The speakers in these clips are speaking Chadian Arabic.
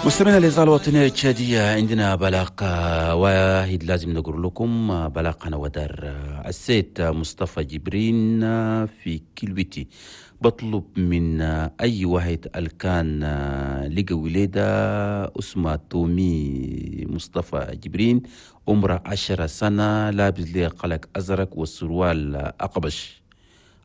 مستمعينا الإذاعة الوطنية التشادية، عندنا بلاغ واحد لازم نقول لكم، بلاغ أنا ودار السيد مصطفى جبرين في كيلويتي، بطلب من أي واحد الكان لقى وليدة اسمه تومي مصطفى جبرين، عمره 10 سنة، لابس ليه قلق أزرق والسروال أقبش.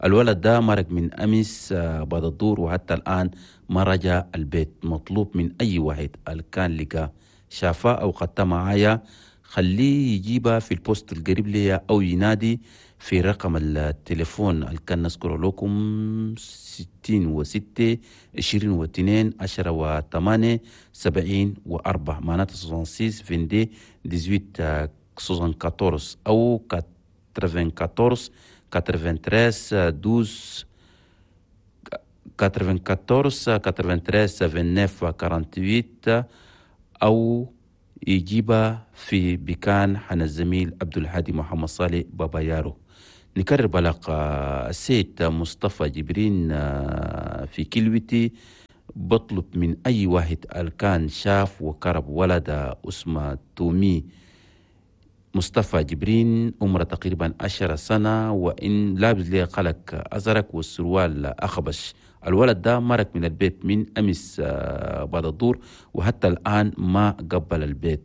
الولد ده مرق من أمس بعد الظهر وحتى الآن ما رجع البيت. مطلوب من أي واحد الكان لقى شافاه أو خدته معايا، خليه يجيبها في ال poste القريب ليا أو ينادي في رقم التليفون اللي كان نذكره لكم: 66 22 10 و8 74، معناته 66 22 18 74 أو 94 93 12 94 93 29 48، أو يجيبها في بكان حنا الزميل عبد الهادي محمد صالح بابا يارو. نكرر بلاغ السيد مصطفى جبرين في كيلويتي، بطلب من أي واحد الكان شاف وكرب ولد اسمه تومي مصطفى جبرين، عمره تقريبا 10 سنة، وإن لابس ليه قلق أزرق والسروال أخبش. الولد ده مرق من البيت من أمس بعد الظهر وحتى الآن ما قبل البيت.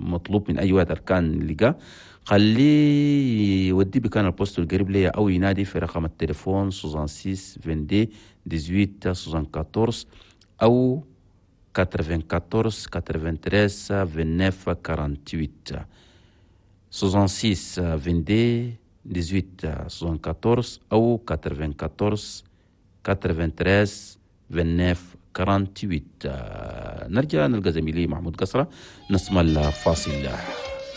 مطلوب من أي واحد كان لقاه، خليه يودي بكان ال poste القريب ليه أو ينادي في رقم التليفون 66 22 18 74 أو 94 93 29 48، 66 22 18 74 أو 94 93 29 48. نرجع نلقى زميلي محمود قصرة، نسمع الفاصل.